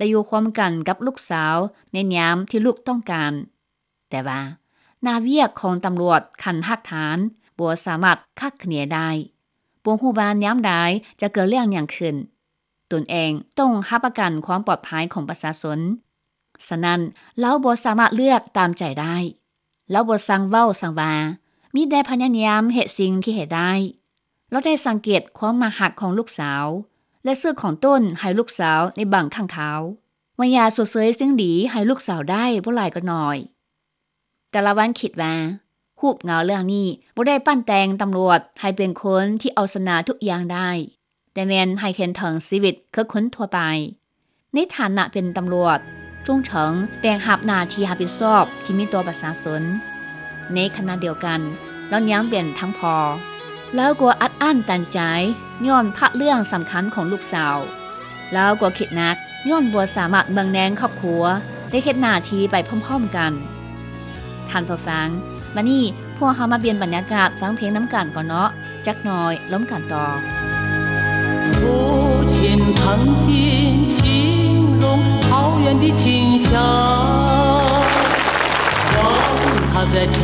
ໄດ້ຢູ່ຮ່ວມກັນກັບລູກສາວໃນຍາມທີ່ລູກຕ້ອງການ. ແຕ່ວ່າໜ້າວຽກຂອງຕຳຫຼວດຂັ້ນຮາກຖານບໍ່ສາມາດຄາດຄະເນໄດ້, ບໍ່ຮູ້ວ່າຍາມໃດຈະເກີດເລື່ອງຫຍັງຂຶ້ນ. ຕົນເອງຕ້ອງຮັບປະກັນຄວາມປອດໄພຂອງປະຊາຊົນ. ສະນັ້ນ, ລາວບໍ່ສາມາດເລືອກຕາມໃຈໄດ້. ລາວບໍ່ຊ່າງເວົ້າຊ່າງວ່າ, ມີແຕ່ພະຍາຍາມເຮັດສິ່ງທີ່ເຮັດໄດ້. ລາວໄດ້ສັງເກດຄວາມມັກຮັກຂອງລູກສາວ ແລະ ຊື້ຂອງຕົ້ນໃຫ້ລູກສາວໃນບາງຄັ້ງຄາວ. ວ່າຢາກຊົດເຊີຍສິ່ງດີໃຫ້ລູກສາວໄດ້ບໍ່ຫຼາຍກໍໜ້ອຍ. ແຕ່ລະວັນຄິດວ່າ, ຮູບເງົາເລື່ອງນີ້ບໍ່ໄດ້ປັ້ນແຕ່ງຕຳຫຼວດໃຫ້ເປັນຄົນທີ່ເອົາຊະນະທຸກຢ່າງໄດ້, ແຕ່ແມ່ນໃຫ້ເຫັນເຖິງຊີວິດຄືຄົນທົ່ວໄປ. ໃນຖານະເປັນຕຳຫຼວດ, ຈຸງເຖິງແບກຮັບໜ້າທີ່ຮັບຜິດຊອບທີ່ມີຕໍ່ປະຊາຊົນ. ໃນຂະນະດຽວກັນ, ລາວຍັງເປັນທັງພໍ່. ລາວກໍອັດອັ້ນຕັນໃຈຍ້ອນພະເລື່ອງສຳຄັນຂອງລູກສາວ. ລາວກໍຄິດໜັກຍ້ອນບໍ່ສາມາດເບິ່ງແຍງຄອບຄົວ ແລະ ເຮັດໜ້າທີ່ໄປພ້ອມໆກັນ. ທ່ານຜູ້ຟັງ, ບັດນີ້ພວກເຮົາມາປ່ຽນບັນຍາກາດຟັງເພງນຳກັນກ່ອນເນາະ, ຈັກໜ່ອຍລົມກັນຕໍ່. 父亲曾经许